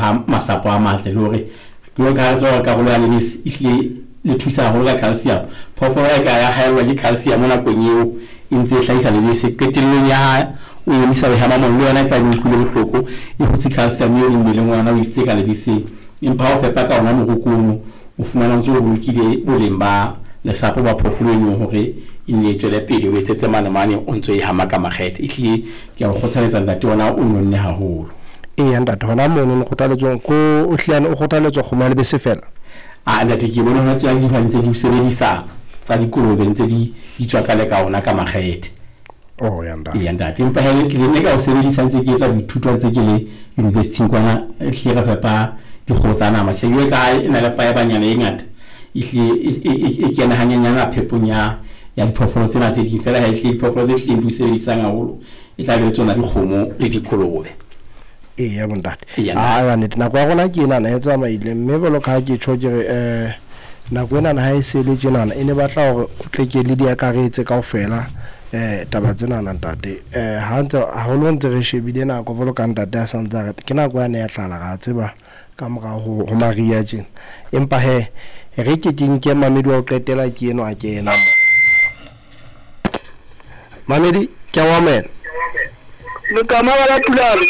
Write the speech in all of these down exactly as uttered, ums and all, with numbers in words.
aha masapo a matle le hore jwalo ka ha re tseba hore karolo ya lebese e hlile le thusa haholo ka calcium. Phoofolo e ka ya haellwa ke calcium nakong eo e ntse e hlahisa lebese, qetellong ya ha o emisa ho hema mono le yona e tla be e utlwile bohloko, e hutse calcium eo le mmeleng wa yona o isitse ka lebeseng. Empa ha o fepa ka ona moroko ono, o fumana o ntso o bolokile boleng ba lesapo ba phoofolo eno hore e nne e tswele pele, o etsetse mane mane o ntso e hama ka makgethe. Ehlile ke a o kgothaletsa ntate, ona o nonne haholo. Eya ntate, hona mono kgothaletsong ko o hliyane o kgothaletswa kgomo ya lebese fela. A ntate, ke bone hona tjena dihwai ntse di o sebedisa tsa dikolobe ntse di di tswaka le ka ona ka makgethe. Oh ya ntate. Eya ntate, empa he ke ne ka o sebedisa ntse ke etsa boithuto ntse ke le university kwana, ehlile re fepa dikgoho tsa nama. Tjhe, jwale ka ha e na le fibre-nyana e ngata, ehlile e kena hanyenyana phepong ya ya diphoofolo tsena tse ding. Feela ha ehlile diphoofolo tse hlileng di o sebedisang haholo e tla be le tsona dikgomo le dikolobe. Eya bontate. Eya. A ka nnete nako ya rona ke enana e tsamaile, mme jwalo ka ha ke tjho ke re um nako enana ha e se le tjenana e ne batla hore o tle ke le di akaretse kaofela um taba tsenana ntate. um Ha ntse haholo ntse re shebile nako jwalo ka ntate a santse a re ke nako yane ya tlala, ra tseba ka morao ho ho mariha tjena. Empa hee re ke ke nke mamedi wa ho qetela ke eno a kena mo. Mamedi ke a o amohela. Lekama la Pulane.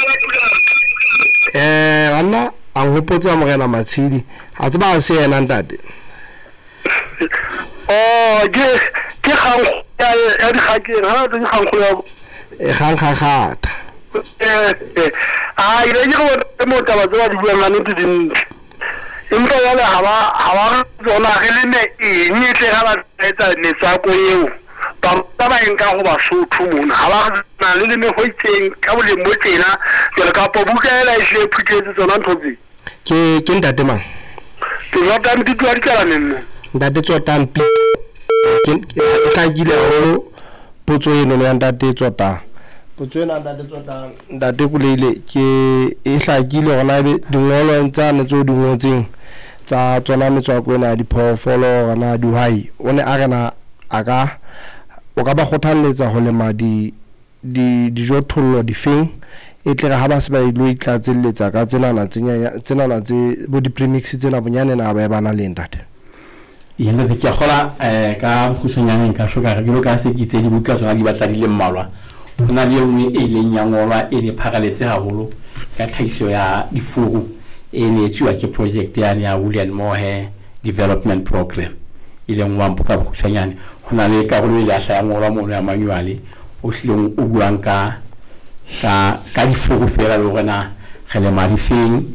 Eh banna a nhopotse morena Matshidi, a tseba ha se yena ntate. Oh, ke ke kgang ya ya dikgakeng, ha tse kgang ya E kgang kgakgatha. Eh eh a ile ke go mo taba tse ba di buang ka nnete di ntle. Empa jwale ha ba ha ba tsona re leme eng e tle ha ba etsa metswako eo. Ba ba ba nka ho Basotho mona ha ba na le leme ho itseng ka boleng bo tjena jwale kapa buka ela e hle phuthetse tsona ntho tse. Ke ke ntate mang? Ke Tsotang Pito wa Dikalaneng mo. Ntate Tsotang Pito. Ke e hlakile haholo potso eno ya ntate Tsotang. Potso ena ntate Tsotang, ntate Koleile ke e hlakile hore na ebe dingolweng tsane tseo di ngotseng tsa tsona metswako ena ya diphoofolo hore na dihwai o ne a re na a ka o ka ba kgothalletsa ho lema di di dijothollo difeng e tle re ha ba se ba ilo itlatselletsa ka tsenana tse tsenana tse bo di-premix tsena bonyane na ba e ba na le ntate. Eya ntate, ke a kgola um ka bokgutshwanyane nka tjho ka re jwalo ka se ke itse dibuka tsona di batla di le mmalwa. Ho na le e nngwe e ileng ya ngolwa e ne pharaletse haholo ka tlhahiso ya difuru e ne etsuwa ke project yane ya William Mohe Development Program, e leng WAMPO ka bokgutshwanyane. Ho na le karolo e ile ya hlaha ya ngolwa mono ya manual o hlileng o buang ka ka ka difuru feela le hore na re lema difeng,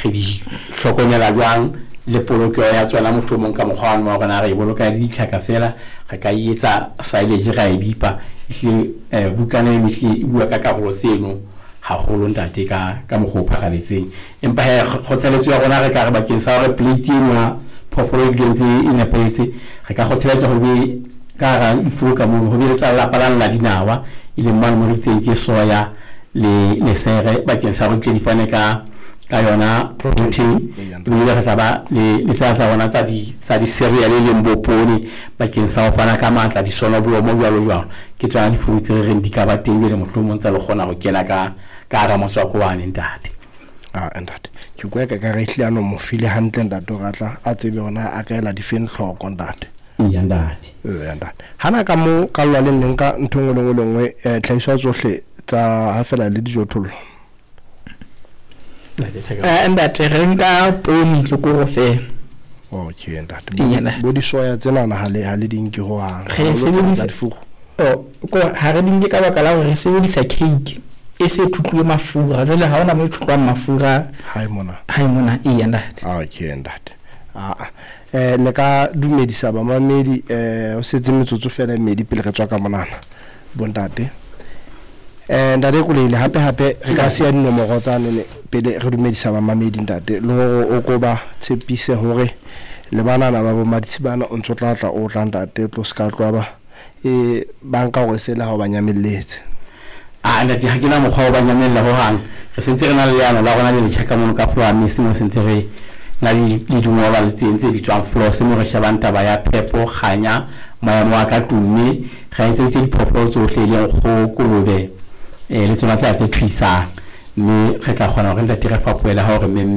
re di hlokomela jwang, le polokeho ya tsona mohlomong ka mokgwa wa hore na re e boloka le ditlhaka feela, re ka e etsa silage ra e bipa. Ehlile um bukana eno ehlile e bua ka karolo tseno haholo ntate ka ka mokgwa o pharaletseng. Empa hee kgothaletso ya rona re ka re bakeng sa hore plate eno ya phoofolo e dule ntse e nepahetse, re ka kgothaletsa ho be ka hara difuru ka mono ho be le tsa lelapa lane la dinawa, e leng mane mo re itseng ke soya le lesere bakeng sa hore di tle di fane ka ka yona protein. Ebile re tla ba le le tsena tsa rona tsa di tsa di-cereal e leng bo poone bakeng sa ho fana ka matla, disonobolomo jwalo jwalo. Ke tsona difuru tse re reng di ka ba teng jwale mohlomong tsa le kgona ho kena ka ka hara motswako wane ntate. Ah ntate, ke kwa ka ka re hlile ano mo file hantle ntate hore a tla a tsebe hore na a ka ela difeng hloko ntate. Eya ntate. Eya ntate. Hana ka mo ka lwaleng le nka ntho e nngwe le nngwe le nngwe eh tlhahiso ya tsohle tsa ha fela le dijothollo. Eh ntate, re nka poone le koro fela. Okay ntate. Eya ntate. Bo disoya tsenana ha le ha le di nke hohang. Re sebedisa difuru. Oh, ko ha re di nke ka baka la hore re sebedisa cake e se thutluwe mafura. Jwale ha hona mo e thutlwang mafura. Ha e mona. Ha e mona, eya ntate. Okay ntate. Ah eh le ka dumedisa bamamedi eh o setse metsotso fela e mmedi pele re tswa ka monana bontate. Eh ntate Koleile hape hape re ka siya dinomoro tsa nene pele re dumedisa bamamedi ntate le hore o ko ba tshepise hore le banana ba bo Maditshibana o ntso tla tla o tla ntate o tlo ska tloha ba e banka hore sela ha o ba nyamelletse. Ah ntate, ha ke na mokgwa wa ba nyamella hohang. Re sentse re na le leano la rona le letjha ka mono ka floor mix mo sentse re na le le dingolwa le teng tse bitswang floors mo re shebang taba ya phepo, kganya, maemo a ka tlung, mme re etseditse diphoofolo tsohle e leng kgoho, kolobe eh le tsona tsena tse thuisang, mme re tla kgona hore ntate re fapohele ha o re memme.